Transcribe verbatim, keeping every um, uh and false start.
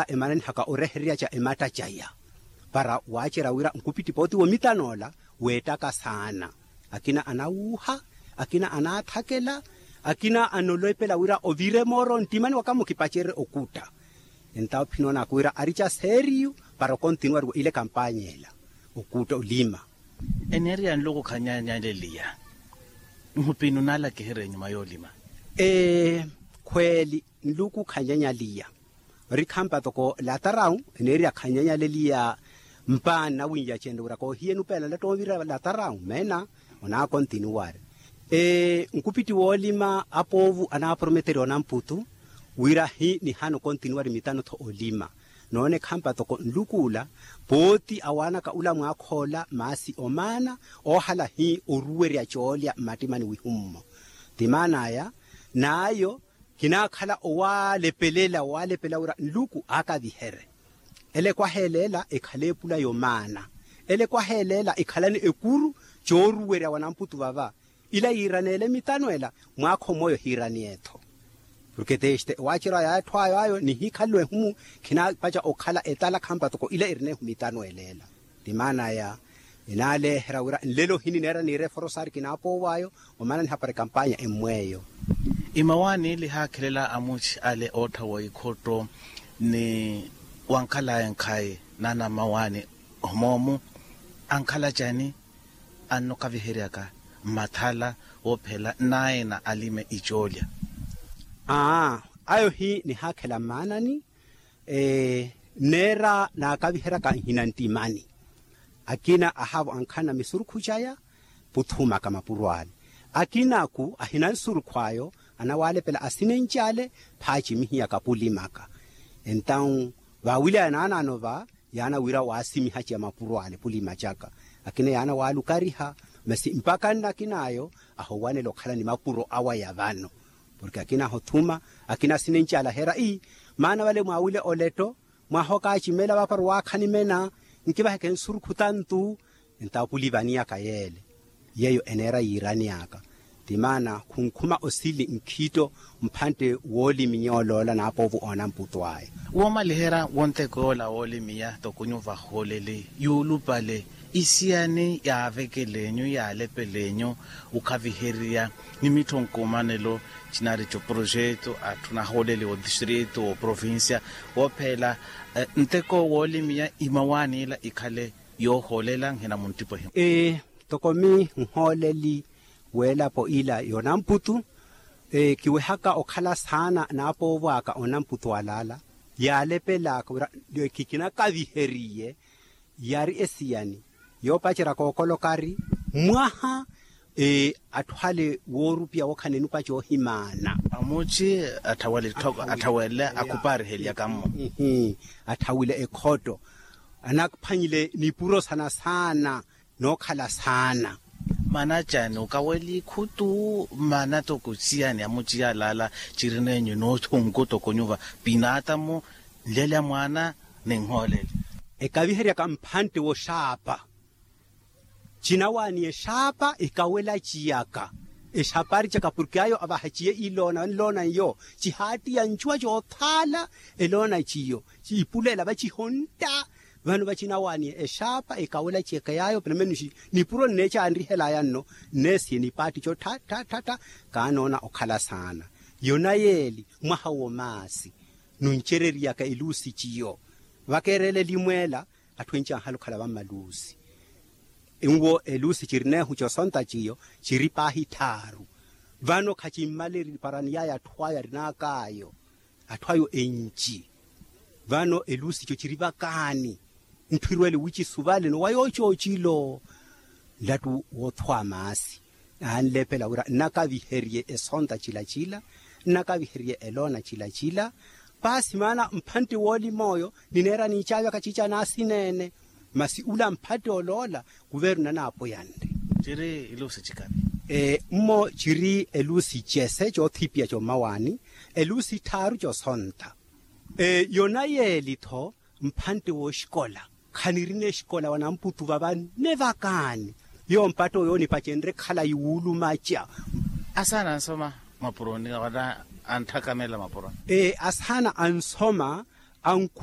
Emananihaka orehererya ca ematta caya para waacerya wira nkupittipa oti womitan'ola weettaka saana. Akina anawuuha, akina anaathakela, akina anolepela wira ovire mooro nttimani waka mukipacerye okutta. Entawo phinoonaka wira ari ca seeriyu para okontinuwariwa ile kampanya ela okutta olima. Eneeriya nluku khanyanyaleliya. Nhupinu naalakiherye enyuma yoolima. Khweeli nluku khanyanyaliya. Ori khampa toko latarawu eneeriya khanyanyaleliya. Mpaani nawiiyacenle wira koohiye nupeela nlattoovira latarawu meena onaakontinuwari. Nkupiti woolima apoovu anaaprometerya onamputu wira hi nihana okontinuwari mitano-tho olima. Noone khampa toko nlukuula pooti awaanaka ula mwaakhoola maasi omaana oohala hi oruwerya coolya mmattimani wihummo. Ti maan'aya n'ayo kinaakhala owaalepelela owaalepelela wira nluku aakaviherye. Ele ekwaha eleela ekhale epula yomaana. Ele ekwaha eleela ekhalani ekuru cooruwerya wanamputu vava. Ila yiiraneele mitano ela mwaakho mmoyo hiiraniye-tho. Porke teste ewaacerya ya atthu ayo ayo nihikhaliwa ehumu khinaapaca okhala etala khampa toko ila irinehu mitano eleela. Ti maan'aya enaaleeherya wira nlelo hinineera niira eforosaari kinaapoow'ayo omaana nihapari kampanya emmw'eyo. Imawaani ili haakhelela amuci ale oottha wa ikhotto ni wankhal'aya nkhayi naana mmawaani. Homoomu ankhala cani annokaviheryaka mmathala woophela naina alime icoolya. Aa ayo hi nihaakhela mmaanani. Neera naakaviheryaka nhina nttimani. Akina ahaavo ankhanna misurukhu caya puthumaka mapuro ale. Akinaku ahina nsurukhu ayo anawalepela asinenc'ale phaacimihiyaka pulimaka. Entawu vaawilaya naanaano va yaana wira waasimihaceya mapuro ale pulima caka. Akina yaana waalukariha masi mpaka nnakin'ayo ahowanela okhala ni mapuro awa ya vano. Porke akina ahothuma akina asinenc'ale aheera ii maana vale mwaawile oletto mwaha okaacimela vaapara owaakhani mena nkivaheke nsurukhu tantu. Entawo puli vaniyaka yeele yeeyo eneera yiiraniyaka. Ti maana khunkhuma osili nkhiitto mphantte wooliminya oloola naapoovo oonamputu aya. Woomaliherya wonteko yoola wooliminya toko nyuva hooleli yuulupale isiyani yaavekel'enyu yaalepelenyu okhaviherya ni mittho nkumanelo cinari coprojeto atthu nahooleli otistritu oprovincia woophela nteko wooliminya imawaani ila ikhale yoohoolela nhina munttipo ehimu. Toko mi nhooleli weelapo ila yoonamputu kiwehaka okhala saana naapoovw'aka oonamputu alaala yaalepel'aka wira kikinakaviheriye. Yari esiyani yoopacerya kookolokari mwaha atthu ale woorupiya wookhala enupa coohimaana. Amuci atthawele akhupaarihelyaka mmo. Atthawile ekhotto anaphwanyile nipuro sana saana nookhala saana. Mana cani okawela ikhutu mana toko siyani amuci yalaala cirinenyu noothunku toko nyuva pinaatamu nlelya mwaana ninhoolele. Ekaviheryaka mphantte woxaapa cinawaani exaapa ekawela ciyaka exapaari caka porke ayo avaha ciye iloona vano eloona iyo cihaattiya ncuwa coothaala eloona ciyo ciipulela vacihontta. Vano vacinawaani exaapa ekawela ciyaka yaayo penemenixi nipuro nneecanrihelaya nno nneesiye nipaatti co ttha ttha ttha kaanoona okhala saana. Yona yeeli mwaha wo maasi nuncereryaka eluusi ciyo vakeerela elimweela atthu enci anhala okhala vammaluusi. Nwo eluusi cirineehu cosonta ciyo ciri paahi tthaaru. Vano khacimmale eripara niyaya atthu ayo arin'ak'ayo atthu ayo enci. Vano eluusi co ciri vakaani ntthu irwele wicisuvale nowa yoocoocilo. Nlattu woothwa maasi anlepela wira nnakaviherye esonta cila cila nnakaviherye eloona cila cila. Paasi maana mphantte woolima oyo nineera niicaavya kaciica naasineene. Masi ula mphantte oloola kuveeruna naapoyanre. Ciri iluusi cikavi. Mmo ciri eluusi cese coothipiya commawaani eluusi tthaaru cosonta. Yona yeeli-tho mphantte wooxikola khanirina exikola wanamputu vava nne vakaani. Yowo mpatta oyo onipacenrye khalayi wuulumaca. Asaana ansoma mapuroni wala antthaka meela mapuroni. Asaana ansoma.